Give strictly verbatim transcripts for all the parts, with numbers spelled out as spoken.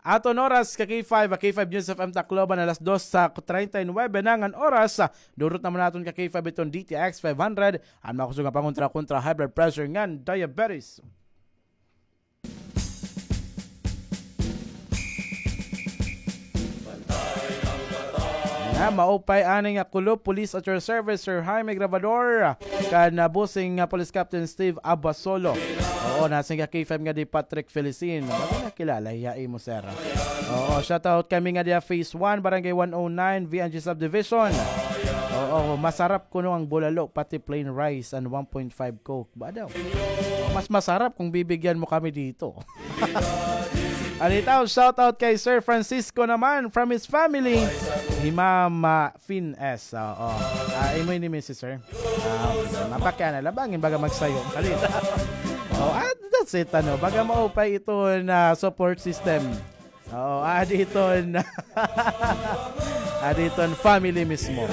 Aton oras ka K five, ka K five News F M Tacloban, alas dos sa treinta y nuebe na ngan oras. Durot naman naton ka K five iton D T X five hundred, an makusog nga pangontra kontra high blood pressure ngan diabetes. Nga maupay ani nga kulop, police at your service, Sir Jaime Grabador, kan, ah, bossing nga Police Captain Steve Abasolo. Oo, nasing ka K five nga di Patrick Felicin. Baga nakilala hiya imo, sir. Oo, shout out kami nga diya Phase one, Barangay one oh nine, V N G Subdivision. Oo, masarap kuno ang bulalo, pati plain rice and one point five Coke. Ba daw? Mas masarap kung bibigyan mo kami dito. Alitaw, shout out kay Sir Francisco naman from his family. Hi Ma'am, ah, Fin S. Oo. Ah, imo ini, Missus Sir. Ah, mapakiana, labangin baga magsayo. Alita. Oh, ah, that's it, ano. Baga maupay ito na support system. Oo, adi iton, adi iton family mismo.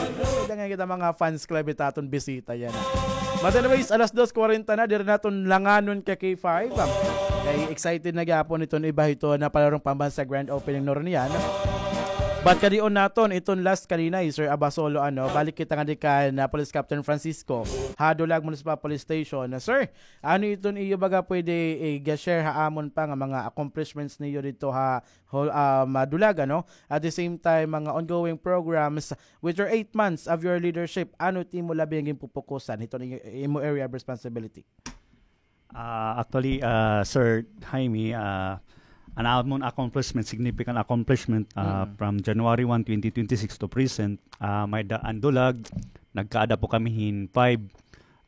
Dangan kita mga fans club, ita aton bisita yana. But anyways, alas dos kwarenta na, diri naton langanon ka K five. Kay excited na gihapon iton iba hito na palarong pambansa grand opening nuron yana. But kadion naton iton last kanina, eh, Sir Abasolo, ano, balik kita nga di kan, ah, Police Captain Francisco, ha Dulag Municipal Police Station. Sir, ano iton iyo baga pwede i-share ha amon pa nga mga accomplishments niyo dito ha whole, um, ah, Dulag, ano? At the same time, mga ongoing programs with your eight months of your leadership, ano it imo labi nga ginpupukusan hiton i-, imo area of responsibility? Ah, actually, ah, Sir Jaime, ah, an amon accomplishment, significant accomplishment, ah, from January one, twenty twenty-six to present, ah, may-ada an Dulag, nagkaada po kami hin five,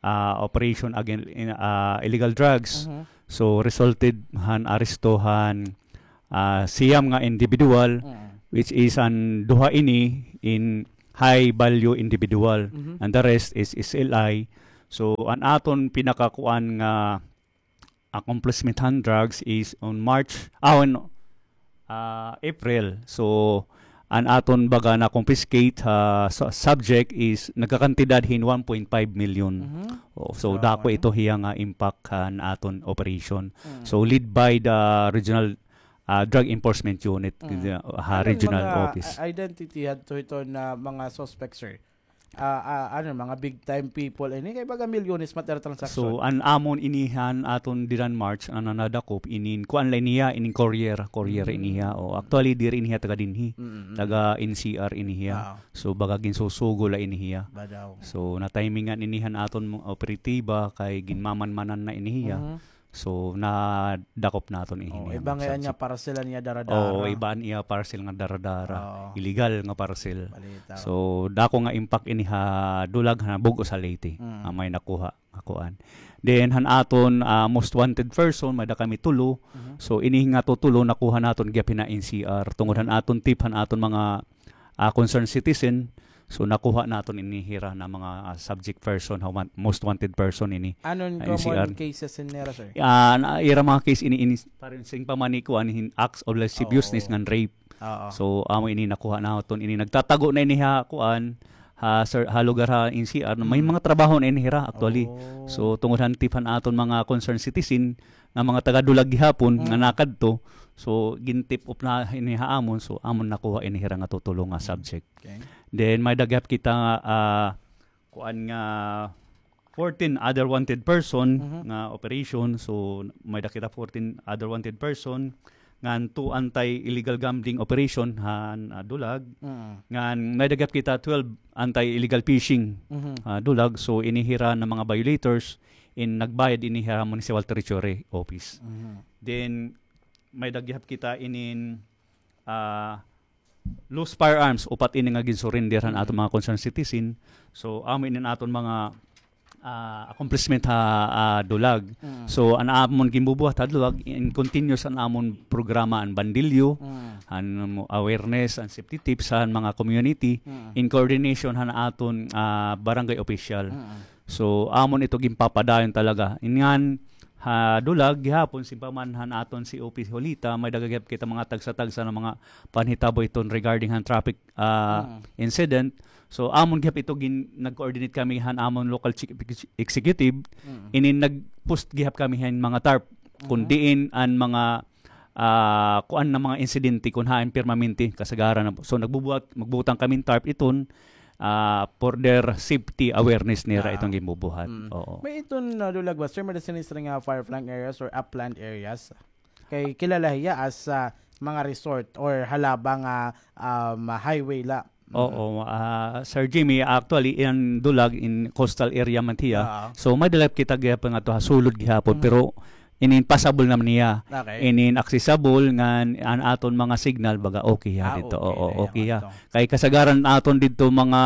ah, operation against, in, ah, illegal drugs. So, resulted han aresto han ah, siyam nga individual, which is an duha ini in high value individual, and the rest is S L I. So, an aton pinakakuan nga accomplishment han drugs is on March, ah, on, ah, April. So, an aton baga na-confiscate, ah, su-, subject is nagkakantidad hin one point five million. Oh, so, dako ito hiya nga impact han aton operation. So, led by the regional ah, drug enforcement unit, ha regional office. Ano mga, ah, identity hadto hiton mga suspects, sir? Ah, ah, ano, mga big time people ini, kay baga milyones man it ira transaction. So, an amon ini han aton dida han March, an nadakop, inin, kuan la ini hiya, inin courier, courier ini hiya. O, actually, diri ini hiya taga dinhi. Taga N C R ini hiya. So, baga ginsusugo la ini hiya. So, na-timingan ini han aton operatiba, kay ginmamanmanan na ini hiya. So, nadakop naton ini. Iba ngay-an nga parcel an iya dara-dara. Oo, iba an iya parcel nga dara-dara. Illegal nga parcel. So, dako nga impact ini ha Dulag, ha bug-os ha Leyte. Nga may nakuha nga kuan. Then, han aton, ah, most wanted person, may-ada kami tulo. So, ini nga tutulo nakuha naton gihap hin N C R. Tungod han aton tip han aton mga ah, concerned citizen. So, nakuha naton ini hira na mga, ah, subject person, ha wan-, most wanted person ini. Ano an common cases in nira, sir? Ah, na, ira mga case ini, ini, pareho sing pamani kuan hin acts of lasciviousness ngan rape. So, amo ini nakuha naton ini. Nagtatago na ini ha kuan, ha, sir, ha lugar ha N C R. May mga trabaho na ini hira, actually. So, tungod han tip han aton mga concerned citizen, nga mga taga Dulag gihapon nga nakadto. So, gin-tip off na ini ha amon. So, amon nakuha ini hira nga tutulo nga subject. Then, may-ada gihap kita, ah, kuan nga fourteen other wanted person nga operation. So, may-ada kita fourteen other wanted person. Ngan two anti-illegal gambling operation han, ah, Dulag. Ngan may-ada gihap kita twelve anti-illegal fishing, ah, Dulag. So, ini hira na mga violators in nagbayad ini ha Municipal Treasury Office. Then, may-ada gihap kita inin, ah, loose firearms, upat ini nga gin-surrender han aton mga concerned citizen. So, amo ini an aton mga, ah, accomplishment ha, ah, Dulag. So, an amon ginbubuhat ha Dulag, in continuous an amon programa an bandilyo, an awareness, an safety tips han mga community, in coordination han aton, ah, barangay official. So, amon ito ginpapadayon talaga. Ngan ha Dulag, gihapon, sing pa man han aton C O P Julita, may-ada gihap kita mga tagsa-tagsa nga mga panhitabo iton regarding han traffic, ah, incident. So, amon gihap ito gin-, nag-coordinate kami han amon local chief ex-, executive. Inin nag-post gihap kami hin mga tarp. Kun diin an mga ah, kuan na mga insidente kun hain permanente kasagaran na. So, nagbubuhat, magbutang kami hin tarp iton, ah, for their safety awareness nira iton ginbubuhat. Oo. May iton, ah, Dulag ba, sir, may sinisira nga far-flung areas or upland areas? Kay kilala hiya as, ah, mga resort or halaba nga, um, highway la. Oo, ah, Sir Jimmy, actually, in Dulag, in coastal area man hiya. So, may-ada la kita gihapon ngadto ha sulod gihapon, pero inin passable naman hiya. Okay. Inin accessible ngan an aton mga signal, baga okay hiya didto. Oo, okay hiya. Kay kasagaran aton didto mga,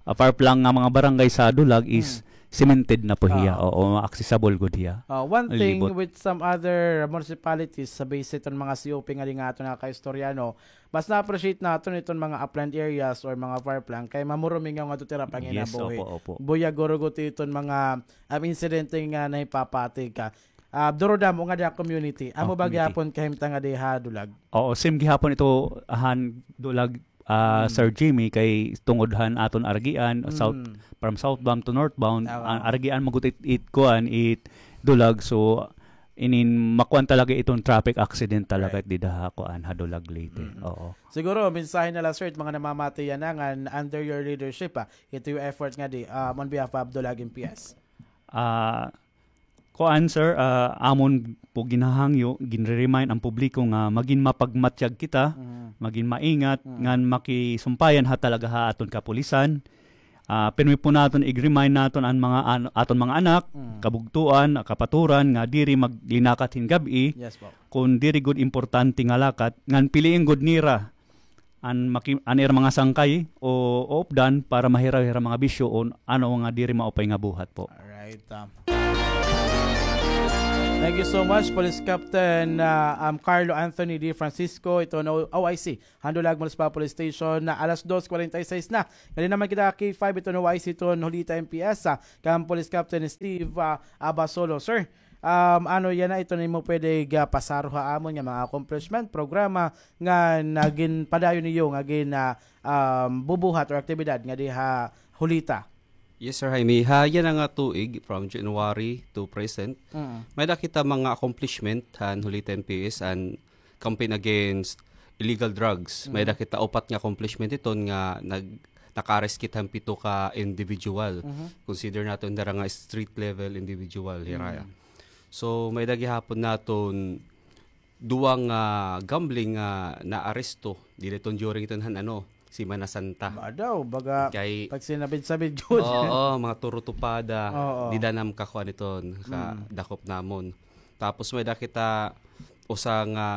ah, far-flung nga mga barangay sa Dulag is cemented na po hiya. Oo, accessible gud hiya. Ah, one thing with some other municipalities, sa base iton mga C O P nga di nga aton nakakaistorya, no, mas na-appreciate naton iton mga upland areas or mga far-flung kay mamurumingaw ngadto it ira panginabuhi. Yes, opo, opo. Buyag guro gud iton mga, um, insidente nga nahipapati ka. Ah, duro damo nga da community. Amo ba gihapon kahimtang nga di ha Dulag? Oo, same gihapon ito han Dulag, ah, Sir Jimmy, kay tungod han aton aragian, south, from southbound to northbound, an aragian mo gud it, it kuan, it Dulag. So, inin makuan talaga iton traffic accident talaga dida ha kuan, ha Dulag, Leyte. Oo. Siguro, mensahe na la, sir, it mga namamati yana ngan under your leadership, ah, ito yung effort nga di, um, on behalf of Dulag M P S. Ah, kuan, sir, ah, amon po ginhahangyo, ginre-remind an publiko nga magin mapagmatyag kita, magin maingat, ngan makisumpayan ha talaga ha aton kapulisan. Ah, pirmi po naton ig-remind naton an mga an-, aton mga anak, kabugtoan, kapaturan nga diri maglinakat hin gab-i, kun diri gud importante nga lakat, ngan piliin gud nira an maki-, an ira mga sangkay o, o updan para mahiraw hira mga bisyo o ano nga diri maupay nga buhat po. Alright, ah. Thank you so much, Police Captain, ah, um, Carlo Anthony De Francisco, iton O I C han Dulag Municipal Police Station, na alas dos kwarenta y seis na. Nadi naman kita K five iton O I C iton Julita M P S, ah, kan Police Captain Steve, ah, Abasolo. Sir, um, ano yana iton imo pwede ga pasaro ha amon nga mga accomplishment, programa nga nagin padayon niyo nga gin, ah, um, bubuhat or aktibidad nga di ha Julita? Yes, Sir Jaime. Ha yana nga tuig, from January to present, may-ada kita mga accomplishment han Julita M P S and campaign against illegal drugs. May-ada kita upat nga accomplishment iton nga nag-, naka-arrest kita han pito ka individual. Consider naton dara nga street level individual, hira. So, may-ada gihapon naton duwa nga gambling nga naaresto dida iton during iton han, ano, Semana Santa. Ba daw, baga kay pagsinabid-sabid jud. Oo, mga turutupada. Oo. Dida nam kakuan iton, kadakop namon. Tapos may-ada kita usa nga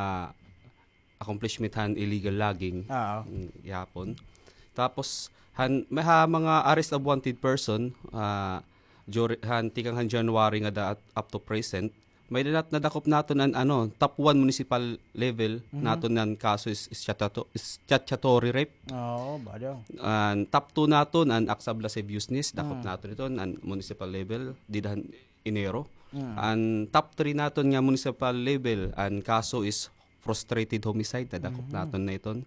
accomplishment han illegal logging. Oo. Mm, gihapon. Tapos, han, may ha mga arrest of wanted person, ah, juri-, han tikang han January ngada up to present, may-ada nat-, nadakop naton an, ano, top one municipal level naton nga kaso is, is statuto-, is statutory rape. Oo, ba daw. An top two naton, an acts of lasciviousness, dakop naton iton, an municipal level, dida han Enero. An top three naton nga municipal level, an kaso is frustrated homicide, nadakop naton na iton.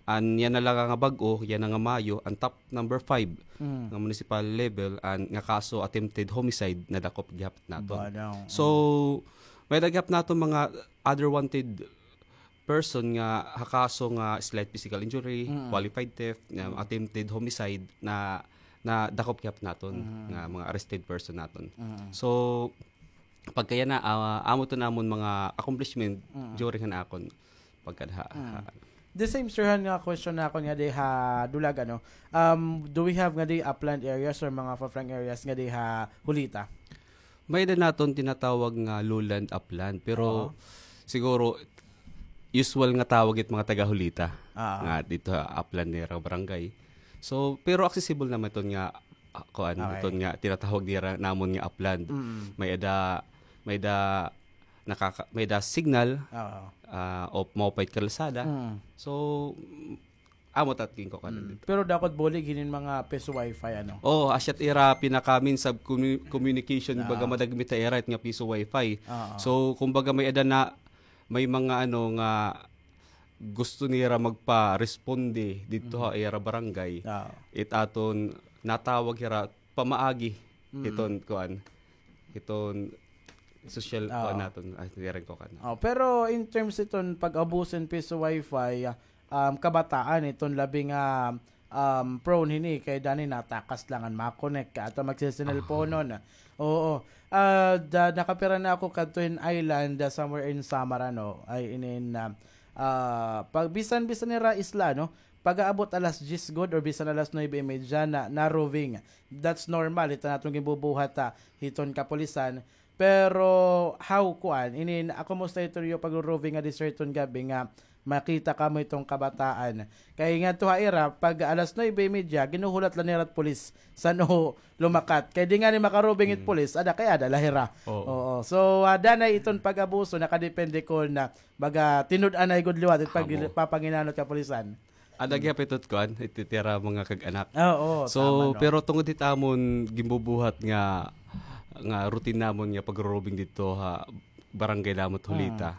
An yana la nga bag-o, yana nga Mayo, an top number five nga municipal level, an nga kaso attempted homicide, nadakop gihap naton. So, may-ada gihap naton mga other wanted person nga ha kaso nga slight physical injury, qualified theft, nga attempted homicide na, nadakop gihap naton nga mga arrested person naton. So, pagka yana, ah, amo iton amon mga accomplishment during han akon pagkada ha, ha. The same, sir, han nga question nakon ngadi ha Dulag, ano, um, do we have ngadi upland areas or mga far-flung areas ngadi ha Julita? May-ada naton tinatawag nga lowland upland, pero siguro usual nga tawag it mga taga Julita nga didto ha upland nira barangay. So, pero accessible naman iton nga, ah, kuan, iton nga tinatawag nira namon nga upland. May-ada, may-ada nakaka-, may-ada signal, ah, o maupay it kalsada. So, amo ta it ginkukuan didto. Pero dakot bulig hinin mga piso wifi, ano? Oo, asya it ira pinaka means of commu-, communication, baga madagmit ha ira it nga piso wifi. So, kumbaga may-ada na, may mga ano nga gusto nira magpa-responde didto ha ira barangay. It aton natawag hira pamaagi hiton kuan, hiton Social, oo, kuan naton, ay, diri ko kan. Oh, pero in terms iton pag-abuso hin piso wifi, ah, um, kabataan iton labi nga, um, prone hini kay danay natakas la ngan ma-connect ka ato magsisinelponon. Oo. Ah, da, nakapira na ako kadto hin island, ah, somewhere in Samar, ano, ay inin, ah, ah, pag bisan, bisan nira isla, no? Pag-aabot alas diyes gud or bisan alas nuebe y media na, na-roving. That's normal. Ito naton ginbubuhat, ah, hiton kapulisan. Pero how kuan, inin, ako mo sa ito pag-roving nga didi sa hiton gabi nga makita kamo iton kabataan. Kay ngadto ha ira, pag alas nuebe y media, ginuhulat la nira it pulis san-o lumakat. Kay di ngani maka-roving it pulis, ada kay ada la hira. Oo. Oo. So, ah, danay iton pag-abuso, nakadepende kon, ah, baga tinud-anay gud liwat it pag-, papanginanot kapulisan. Ada gihap ito it kuan, it ira mga kag-anak. Ah, oo, so, tama, no? Pero tungod hit amon ginbubuhat nga, nga routine namon nga pag-roving didto ha barangay namon Hulita.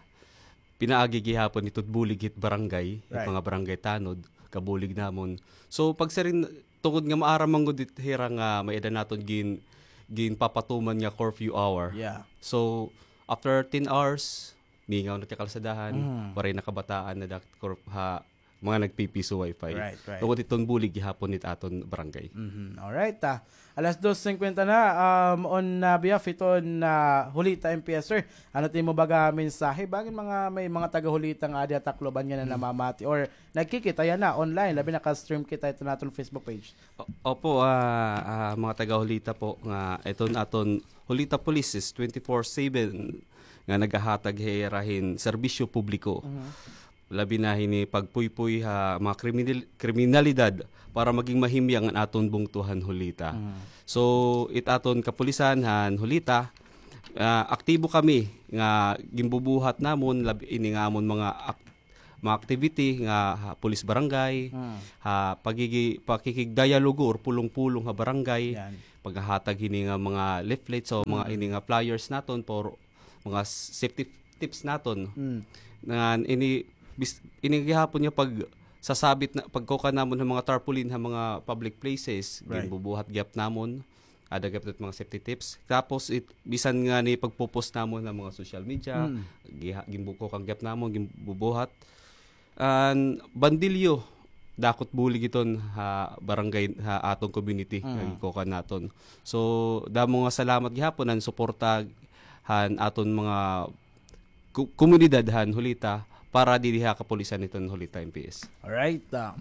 Pinaagi gihapon hit bulig hit barangay, hit mga barangay tanod, kabulig namon. So, pagsiring, tungod nga maaram man gud it hira nga may-ada naton gin-, ginpapatuman nga curfew hour. Yeah. So, after ten hours, mingaw na it kakalsadahan, waray na kabataan na dak-, kor-, ha, mga nagpipiso wifi. Right, right. Tungod hiton bulig gihapon hit aton barangay. Mhm. Alright, ah. Alas dos singkwenta na, um, on, ah, behalf hiton, ah, Hulita M P S, sir, ano it imo baga mensahe? Bangin mga, may mga taga-Hulita nga adi ha Tacloban nga nanamamati or nagkikita yana online, labi naka-stream kita hiton aton Facebook page. O-, opo, ah, ah, mga taga-Hulita po nga iton aton Hulita Police is twenty-four seven nga nagahatag hira hin serbisyo publiko. Mhm. Labi na hini pagpuypoy ha mga kriminal-, kriminalidad para maging mahimyang an aton bungto han Hulita. Mhm. So, it aton kapulisan han Hulita, ah, aktibo kami nga ginbubuhat namon, lab-, ini nga amon mga ak-, mga activity nga ha police barangay, ha pagigi-, pakikigdialogo or pulong-pulong ha barangay, paghahatag hini nga mga leaflets o mga ini nga flyers naton for mga s-, safety tips naton. Ngan ini bis-, ini gihapon nga pagsasabit na, pagkukuan namon ha mga tarpaulin ha mga public places, ginbubuhat gihap namon. Ada gihap it mga safety tips. Tapos it, bisan ngani pagpo-post namon ha mga social media, giha-, ginbukukan gihap namon, ginbubuhat. An bandilyo, dako it bulig iton ha barangay, ha aton community, nga ginkukuan naton. So, damo nga salamat gihapon han suporta han aton mga ko-, komunidad han Hulita para didi ha kapulisan hiton Hulita M P S. Alright, ah.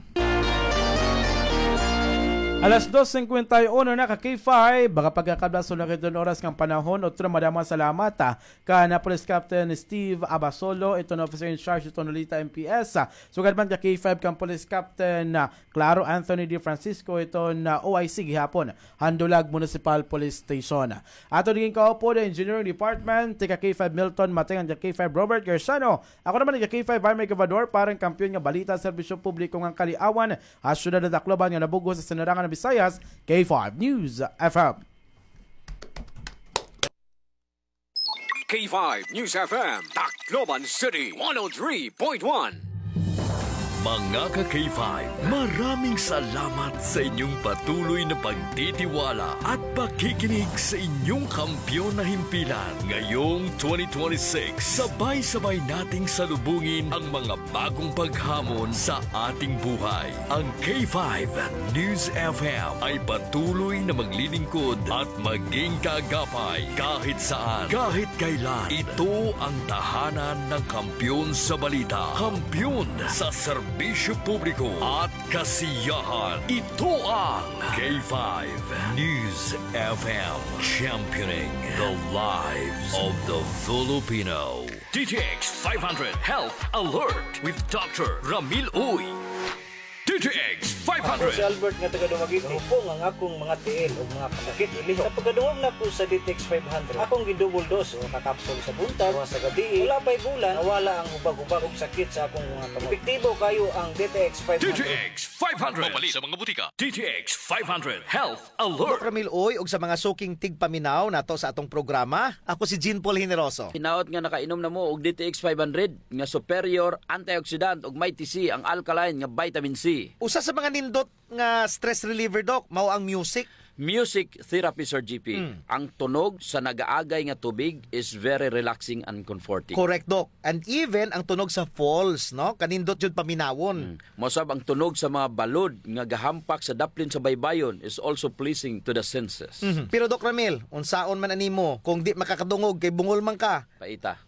Alas dos singkwenta y uno na ka K five, baga pagkakablaso na kay iton oras ngan panahon. Utro, madamo nga salamat, ah, kan, ah, Police Captain Steve Abasolo, iton officer in charge hiton Hulita M P S, ah, sugad man ka K five kan Police Captain, ah, Claro Anthony De Francisco, iton, ah, O I C gihapon han Dulag Municipal Police Station. Aton ginkaupod an Engineering Department, tika K five Milton Mateng ngan ka K five Robert Garciano. Ako naman tika K five Army Gobernador, parang kampiyon nga balita, serbisyo publiko ngan kaliawan ha syudad han Tacloban nga nabug-os ha sinarangan han Visayas, K five News F M. K five News F M, Tacloban City, one oh three point one. Mga ka-K five, maraming salamat sa inyong patuloy na pagtitiwala at pakikinig sa inyong kampiyon na himpilan. Ngayong twenty twenty-six, sabay-sabay nating salubungin ang mga bagong paghamon sa ating buhay. Ang K five News F M ay patuloy na maglilingkod at maging kaagapay kahit saan, kahit kailan. Ito ang tahanan ng kampiyon sa balita, kampiyon sa serbisyo publiko at kasiyahan. Ito ang K five News F M, championing the lives of the Filipino. D T X five hundred Health Alert with Doctor Ramil Uy. D T X five hundred. Ako si Albert nga taga Dumaguete. Hupong ang akong mga tiil ug mga kasakit. Sa pagkadungog nako sa D T X five hundred, akong gi-double dose, duha ka kapsul sa buntag, duha sa gabii. Wala pa'y bulan, nawala ang hubag-hubag ug sakit sa akong mga kamot. Epektibo kaayo ang D T X five hundred. D T X five hundred. Mapalit sa mga butika. D T X five hundred Health Alert. Doc Ramil Uy, ug sa mga suking tigpaminaw nato sa atong programa, ako si Jean Paul Generoso. Hinaot nga nakainom na mo og D T X five hundred nga superior antioxidant ug may T C ang alkaline nga vitamin C. Usa sa mga nindot nga stress reliever, Doc, mao ang music. Music therapy, Sir G P. Mm. Ang tunog sa nagaagay nga tubig is very relaxing and comforting. Correct, Doc. And even ang tunog sa falls, no? Kanindot jud paminawon. Mm. Mausab ang tunog sa mga balod nga gahampak sa daplin sa baybayon is also pleasing to the senses. Mhm. Pero, Doc Ramil, unsaon man animo kung di makakadungog kay bungol man ka? Paita.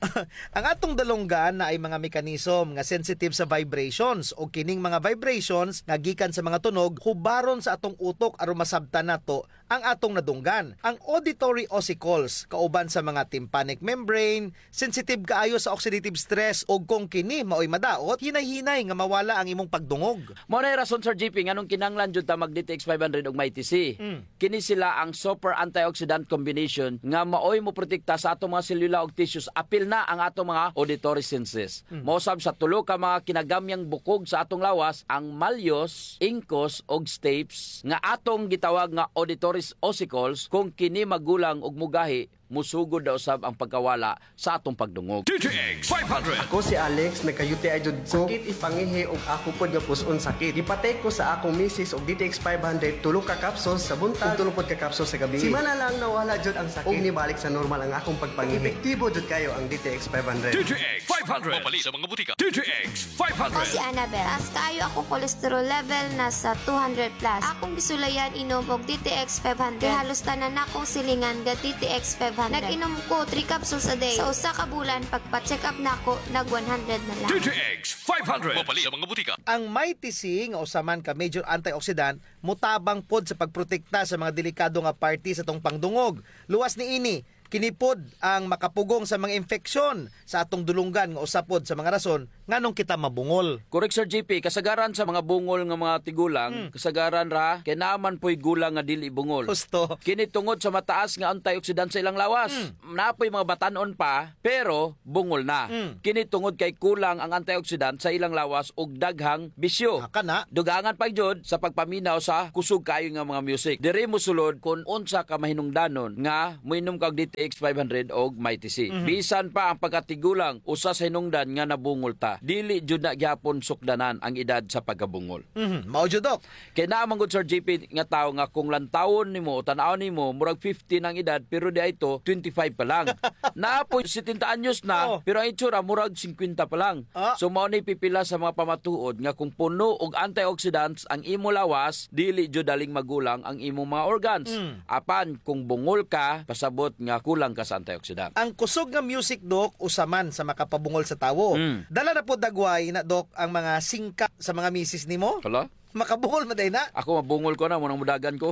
Ang atong dalunggan naay mga mechanism nga sensitive sa vibrations, o kining mga vibrations nga gikan sa mga tunog hubaron sa atong utok aron masabtan nato ang atong nadunggan. Ang auditory ossicles, kauban sa mga tympanic membrane, sensitive kaayo sa oxidative stress, ug kung kini maoy madaot, hinay-hinay nga mawala ang imong pagdungog. Mao nay rason, Sir G P, nganong kinahanglan jud ta mag D T X five hundred ug Mighty C. Mm. Kini sila ang super antioxidant combination nga maoy moprotekta sa atong mga selula ug tissues, apil na ang atong mga auditory senses. Mm. Mausab sa tulo ka mga kinagamyang bukog sa atong lawas, ang malleus, incus, ug stapes, nga atong gitawag nga auditory ossicles, kung kini magulang ug mugahi, musugod na usab ang pagkawala sa atong pagdungog. D T X five hundred. Ako si Alex, nagka-U T I jud ko. Sakit ipangihi ug ako pod nga pus-on sakit. Gipatake ko sa akong misis og D T X five hundred, tulo ka capsules sa buntag ug tulo pod ka capsules sa gabii. Simana lang nawala jud ang sakit ug nibalik sa normal ang akong pagpangihi. Epektibo jud kayo ang D T X five hundred. D T X five hundred. Mapalit sa mga butika. D T X five hundred. Ako si Annabel. Taas kaayo akong cholesterol level, nasa two hundred plus. Akong gisulayan inom og D T X five hundred. Kay halos tanan nakong silingan ga D T X five hundred. Nag-inom ko three capsules a day. Sa usa ka bulan, pagpa-check up nako, nag one hundred na lang. D T X five hundred. Mapalit sa mga butika. Ang Mighty C nga usa man ka major antioxidant, motabang pod sa pagprotekta sa mga delikado nga parte sa atong pangdungog. Luwas niini, kini pod ang makapugong sa mga infeksyon sa atong dulunggan nga usa pod sa mga rason nganong kita mabungol. Correct, Sir G P. Kasagaran sa mga bungol nga mga tigulang, hmm, kasagaran ra kay naa man po'y gulang nga dili bungol. Husto. Kini tungod sa mataas nga antioxidant sa ilang lawas. Hmm. Naa po'y mga batan-on pa, pero bungol na. Hmm. Kini tungod kay kulang ang antioxidant sa ilang lawas ug daghang bisyo. Ah, kana. Dugangan pa jud sa pagpaminaw sa kusog kaayo nga mga music. Diri mosulod kun unsa ka mahinungdanon nga moinom ka og D T X five hundred og Mighty C. Mhm. Bisan pa ang pagkatigulang, usa sa hinungdan nga nabungol ta. Dili jud na gihapon sukdanan ang edad sa pagkabungol. Mhm. Mao jud, Doc. Kay naa man gud, Sir G P, nga tawo nga kung lantawon nimo o tan-awon nimo, murag fifty na ang edad, pero diay to, twenty-five pa lang. Naa poy setenta anyos na, oh, pero ang itsura, murag singkwenta pa lang. Ah. So, mao ni pipila sa mga pamatuod nga kung puno og antioxidants ang imo lawas, dili jud daling magulang ang imong mga organs. Mm. Apan kung bungol ka, pasabot nga kulang ka sa antioxidant. Ang kusog nga music, Doc, usa man sa makapabungol sa tawo. Mm. Dala na pod dagway na, Doc, ang mga singkap sa mga misis nimo? Hala? Makabungol man diay na. Ako, mabungol ko na, mao nang mudagan ko.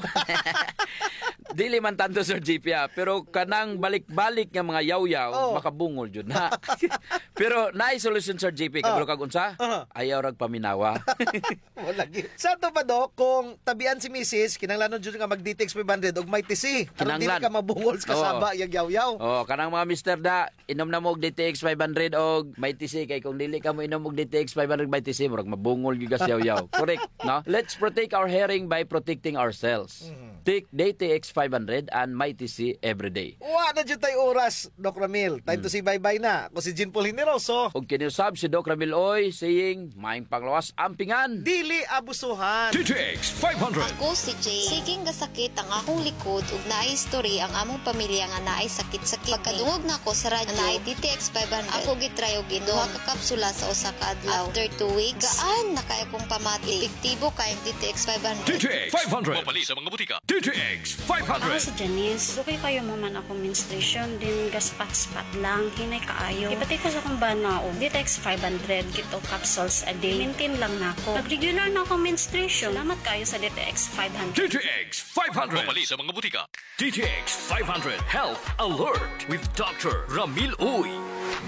Dili man tanto, Sir G P, ah, pero kanang balik-balik nga mga yawyaw, oh, makabungol jud na. Pero naay solusyon, Sir G P, oh, kabalo kag unsa? Uh-huh. Ayaw rag paminawa. Wala lagi. Sa ato pa, Doc, kung tabian si misis, kinahanglanon jud nga mag-D T X five hundred og Mighty C. Aron dili ka mabungol sa kasaba, yag yawyaw. Oo, kanang mga mister da, inom na mo og D T X five hundred og Mighty C, kay kung dili ka moinom og D T X five hundred Mighty C, murag mabungol gyud ka sa yawyaw. Correct, no? Let's protect our hearing by protecting ourselves. Mhm. Take D T X five hundred and Mighty C every day. Wa na jud tay oras, Doc Ramil. Time to say bye-bye na. Ako si Jean Paul Generoso. Ug kini usab si Doc Ramil Uy, saying, maayong panglawas, ampingan. Dili abusuhan. D T X five hundred. Ako si Jay. Sige nga sakit ang akong likod ug naay history ang among pamilya nga naay sakit-sakit. Pagkadungog nako sa radyo, naay D T X five hundred. Ako gitry og inom. Duha ka kapsula sa usa ka adlaw. After two weeks, gaan na kaayo akong pamati. Epektibo kaayo ang D T X five hundred. D T X five hundred. Mapalit sa mga butika. D T X five hundred. Ako si Janice. Dugay kaayo mahuman akong menstruation, then gaspat-spat lang, hinay kaayo. Gipatake ko sa akong bana og D T X five hundred, two capsules a day. Maintain lang nako. Nag-regular na akong menstruation. Salamat kaayo sa D T X five hundred. D T X five hundred. Mapalit sa mga butika. D T X five hundred Health Alert with Doctor Ramil Uy.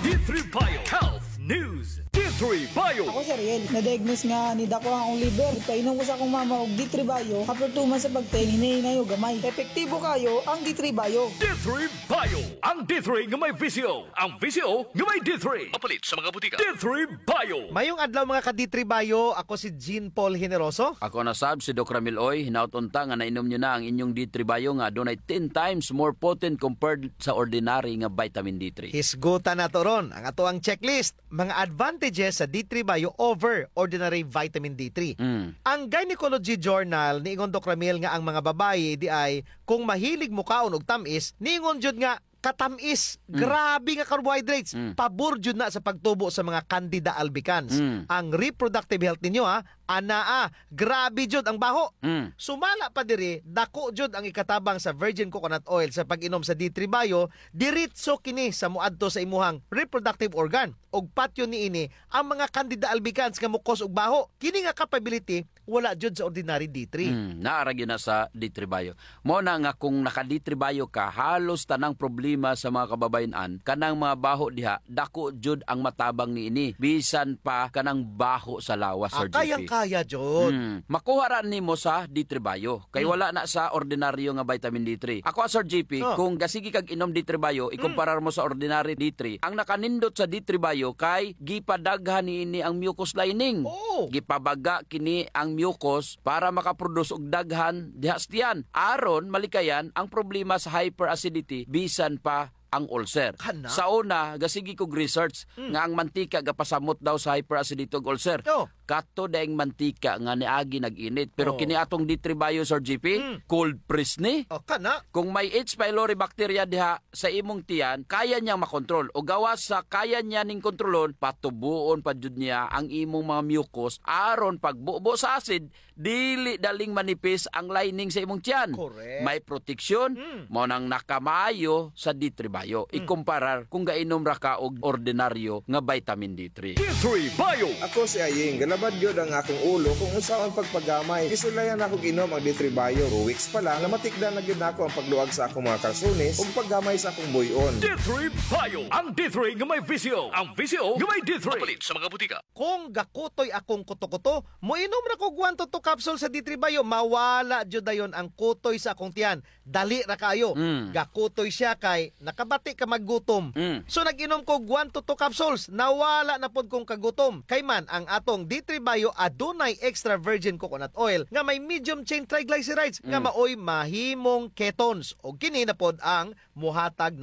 D three Bio Health News. D three Bio. Ako si Ariel. Na-diagnose nga nidako ang akong liver. Ipainom ko sa akong mama og D three Bio. After two months sa pag-take, hinay-hinay og gamay. Epektibo kaayo ang D three Bio. D three Bio. Ang D three nga may V C O. Ang V C O nga may D three. Mapalit sa mga butika. D three Bio. Mayong adlaw, mga ka-D three Bio. Ako si Jean Paul Generoso. Ako na sab si Doc Ramil Uy. Hinaot unta nga nainom nyo na ang inyong D three Bio nga adunay ten times more potent compared sa ordinary nga vitamin D three. Hisgutan nato ron ang atoang checklist, mga advantages sa D three Bio over ordinary vitamin D three. Mm. Ang Gynecology Journal niingon, Doc Ramil, nga ang mga babayi diay kung mahilig mokaon og tam-is, niingon jud nga katam-is, mm, grabe nga carbohydrates, mm, pabor jud na sa pagtubo sa mga candida albicans. Mm. Ang reproductive health ninyo, ha, anaa, grabe jud ang baho. Mm. Sumala pa diri, dako jud ang ikatabang sa virgin coconut oil sa pag-inom sa D three Bio, diretso kini sa moadto sa imuhang reproductive organ. Ug patyon niini ang mga candida albicans nga mo-cause og baho. Kini nga capability wala jud sa ordinary D three. Mm, naa ra gyud na sa D three Bio. Mao na nga kung naka-D three Bio ka, halos tanang problema sa mga kababayen-an, kanang mga baho diha, dako jud ang matabang niini. Bisan pa kanang baho sa lawas, ah, Sir J P. Kayang-kaya jud. Mm. Makuha ra nimo sa D three Bio. Kay, mm, wala na sa ordinaryo nga vitamin D three. Ako, ah, Sir J P, oh, kung gasigi kag inom D three Bio, mm, ikumparar mo sa ordinary D three, ang nakanindot sa D three Bio kay gipadaghan niini ang mucus lining. Oh. Gipabaga kini ang mucus para makaproduce og daghan diha sa tiyan. Aron malikayan ang problema sa hyperacidity bisan pa ang ulcer. Kana? Sa una, gasigi kog research, mm, nga ang mantika gapasamot daw sa hyperacidity ug ulcer. Oh. Kato daing mantika nga niagi nag-init. Pero, oh, kini atong D three Bio, Sir J P, mm, cold press ni. Oh, kana? Kung may H. pylori bacteria diha sa imong tiyan, kaya niyang makontrol. O gawas sa kaya niya ning kontrolon, patubuon pa jud niya ang imong mga mucus aron pagbubo sa acid, dili daling manipis ang lining sa imong tiyan. Correct. May proteksyon, mm, mao nang nakamaayo sa D three Bio. Mm. Ikumparar kung gainom ra ka og ordinaryo nga vitamin D three. D three Bio. Ako si Aying, galabad gyud ang akong ulo kung unsaon pagpagamay. Gisulayan nako og inom ang D three Bio. Two weeks pa lang, namatikdan na gyud nako ang pagluag sa akong mga kalsones ug paggamay sa akong buy-on. D three Bio, ang D three nga may visyo. Ang visyo nga may D three. Mapalit sa mga butika. Kung gakutoy akong kuto-kuto, moinom ra kog one to two capsule sa D three Bio, mawala jud dayon ang kutoy sa akong tiyan. Dali ra kaayo. Mm. Gakutoy siya kay nakabati ka maggutom. Mm. So, nag-inom kog one to two capsules, nawala na pod kong kagutom. Kay man, ang atong D three Bio adunay extra virgin coconut oil nga may medium chain triglycerides nga, mm, maoy mahimong ketones. O kini na pod ang muhatag na